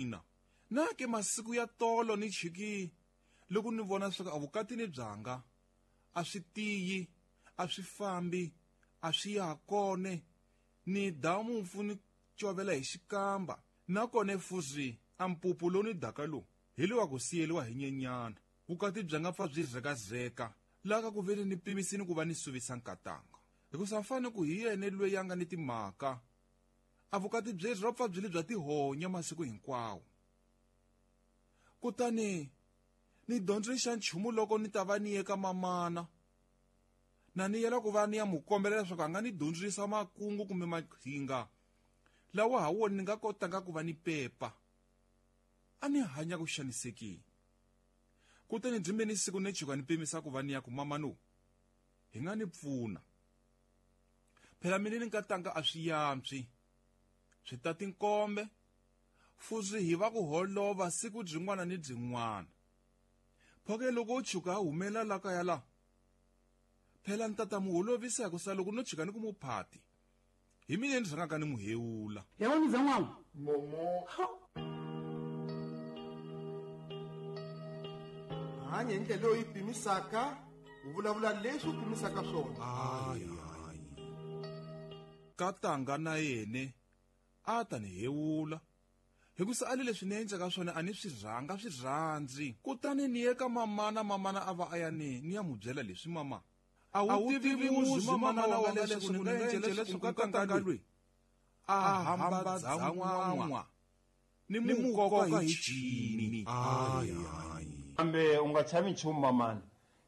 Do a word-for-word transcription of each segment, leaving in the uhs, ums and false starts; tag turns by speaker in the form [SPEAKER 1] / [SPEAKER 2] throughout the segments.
[SPEAKER 1] mina na ke masiku ya tolo ni chiki loko ni vona swa ku avukatini byanga a swi tiyi a swi fambi a swi ya kone ni damu mfu ni covela hi xikamba nakona fuzi a mpupu lowu ni daka lowu hi lowa ku siyeliwa hi nyenyana vukati bya nga pfa byi zekazeka laha ka ku veni ni pimisini ku va ni suvisa nkatanga hikusa mfane ku hi yena loyi a nga ni timhaka a vukati byeri ro pfa byi li bya tihonya masiku hinkwawo kutani ni dyondzile xa nchumu loko ni ta va ni ye ka mamana na ni yela ku va ni ya mu kombela leswaku a nga ni dyondzisa makungu kumbe maqhinga lawa ha wona ni nga kotanga ku va ni pepa a ni hanya ku xanisekile kutani byi ni siku ni chuka ni pimisa ku va ni ya ku mama no hi nga ni pfuna phela mina ni nkatanga a swi yantswi swi ta tinkombe fuzi hi va ku holova siku byin'wana ni byin'wana phoke loko u chuka humela la kaya la phela ni tata mu holovisa ku sa loko no chuka ni ku mu phati hi mina ni rhangaka ni mu hewula
[SPEAKER 2] ya wona zan'wana
[SPEAKER 3] momo hanya hi ndlela leyi yi pimisaka u vulavula leswi u pimisaka swona
[SPEAKER 1] hayi katanga na yene a ta ni hewula hikusa a le leswi ni endlaka swona a ni swi rhanga swi rhandzi kutani ni ye ka mamana mamana a va a ya ni ni ya mu byela leswi mama a wu tivi muzi mamana wa nga leswaku ni nga endlela leswaku katanga loyi a hamba dzan'wan'wa ni mu koka hi cini
[SPEAKER 4] kambe u nga chavi nchumu mamana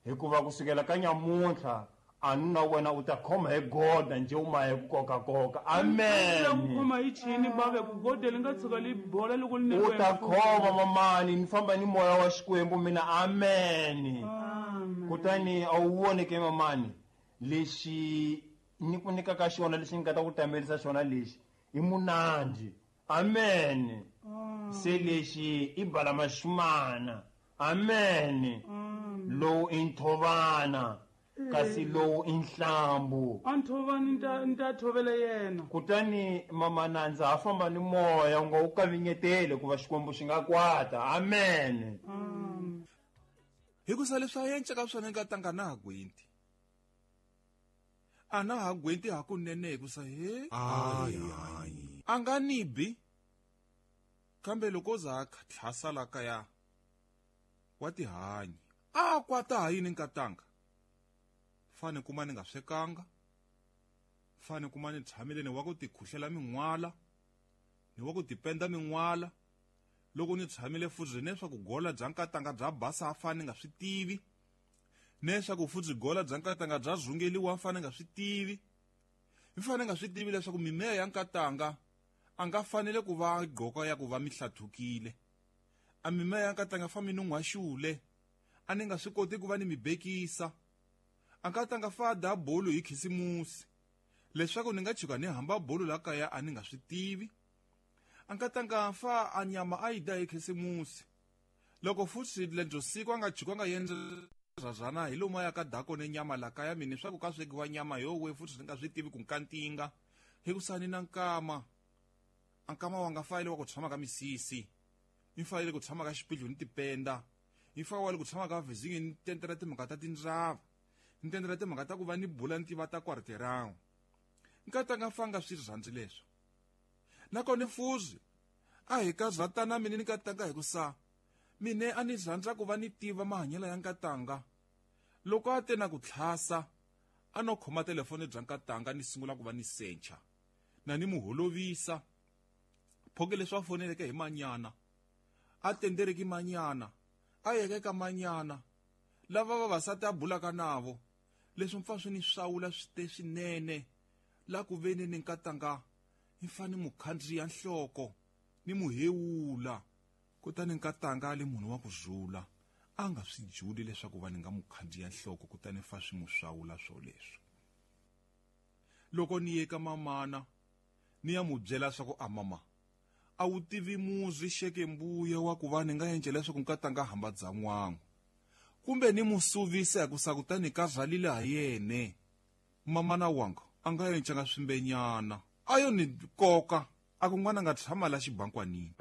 [SPEAKER 4] hikuva kusukela ka nyamuntlha a nuna wena u ta khoma hi goda nje u ma hi ku kokakoka amen
[SPEAKER 2] ku khoma hi chini bave ku goda li nga tshuka li bola loko li
[SPEAKER 4] u ta khoma mamani ni famba ni moya wa Xikwembu mina amen kutani a wu vone ke mamani lexi ni ku nyikaka xona lexi ni nga ta ku tamelisa xona lexi i munandzi amen se lexi i bala maxumana amen lowu i nthovana kasi lowu i nhlambu
[SPEAKER 2] a nthovani ni ta thovela yena
[SPEAKER 4] kutani mamana ndza ha famba ni moya u nga wu kavinyeteli ku va Xikwembu xi nga kwata amen
[SPEAKER 1] hikusa leswi a enceka swona nkatanga na ha gwenti a na ha gwenti hakunene hikusa he a nga ni bi kambe loko o za a tlhasa la kaya wa tihanyi a kwata ha yini nkatanga fane kuma ni nga swekanga fane kuma ni tshamile ni wa ku tikhuhlela min'wala ni wa ku tipenda min'wala loko ni tshamile futhi leswaku gola bya nkatanga bya basa a fane nga swi tivi leswaku futhi gola bya nkatanga bya zungeliwa a fane nga swi tivi mi fane nga swi tivi leswaku mimeya ya nkatanga a nga fanele ku va gqoka ya ku va mihlathukile a mimeya ya nkatanga fa mi nun'hwaxule a ni nga swi koti ku va ni mi bekisa a nkatanga fa da bolo hi khisimusi leswaku ni nga chuka ni hamba bolo la kaya a ni nga swi tivi a nkatanga fa a nyama a yi da hi khisimusi loko futhi lebyo siku a nga chuka a nga endla razana hi lomu a ya ka dako ne nyama la kaya mina swa ku ka swekiwa nyama yowe futhi ni nga swi tivi ku nkantinga hikusa ni na nkama a nkama wa nga fayile wa ku tshama ka misisi ni fayile ku tshama ka xipidlo ni tipenda ni fayile ku tshama ka vizingi ni tentela timhaka ta tindzava ni tentela timhaka ta ku va ni bula ni tiva ta kwarterawu nkatanga fanga swi rhandzi leswo nakona fuzi a hi ka zatana mina ni nkatanga hikusa mine a ni rhandza ku va ni tiva mahanyelo ya nkatanga loko a te na ku tlhasa a no khoma telefoni bya nkatanga ni sungula ku va ni sencha na ni mu holovisa phoke leswi a foneleke hi manyana a tendereki manyana a yeke ka manyana lava vavasati a bulaka navo leswi mpfa swi ni swawula swi te swinene la ku veni ni nkatanga ni fane mu khandziya nhloko ni mu hewula kutani nkatanga a le munhu wa ku zula a nga swi juli leswaku va ni nga mu khandziya nhloko kutani fa swi mu swawula swoleswo loko ni ye ka mamana ni ya mu byela swa ku a mama a wu tivi muzi xeke mbuya wa ku va ni nga endla leswaku nkatanga hamba dzan'wangu kumbe ni mu suvisa hikusa kutani ka rhalile ha yene mamana wanga a nga encanga swimbenyana a yo ni koka a ku n'wana nga tshama la xibankwanini.